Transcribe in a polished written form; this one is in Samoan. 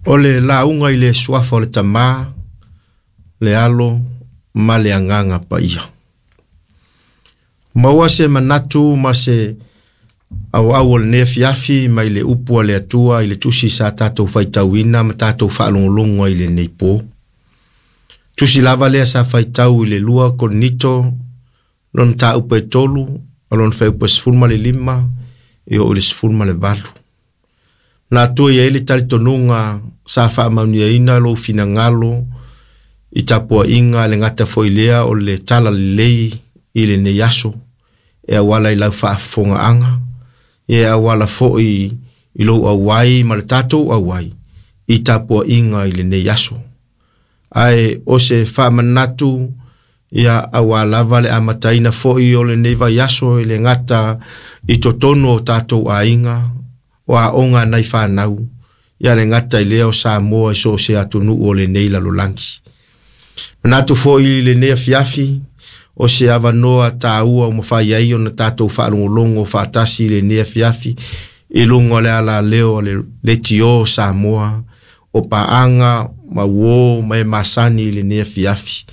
O le lauga i le suafa o le Tama, le Alo ma le Agaga Paia. Maua se manatu ma se auau o lenei afiafi mai le upu a le Atua i le tusi sa tatou faitauina ma tatou faalogologo ai i lenei po. Tusi lava lea sa faitau i le 2 Korinito lona mataupu e 3, o lona fuaiupu e 15 e oo i le 18. Na atua i ai le talitonuga sa faamaoniaina lou finagalo i tapuaiga le gata foi lea o le tala lelei i lenei aso, e auala i lau faafofogaaga, e auala foi i lou auai ma le tatou auai i tapuaiga i lenei aso. Ae o se faamanatu ia auā lava le amataina foi o lenei vaiaso e le gata i totonu o tatou aiga, o aoga a nai fanau, ia le gata i lea o Samoa i so o se atunuu o lenei lalolagi. Manatu foi i lenei afiafi, o se avanoa taua ua mafai ai ona tatou faalogologo faatasi i lenei afiafi i luga o le alaleo o le Leitio o Samoa, o paaga ma uō ma e masani i lenei afiafi.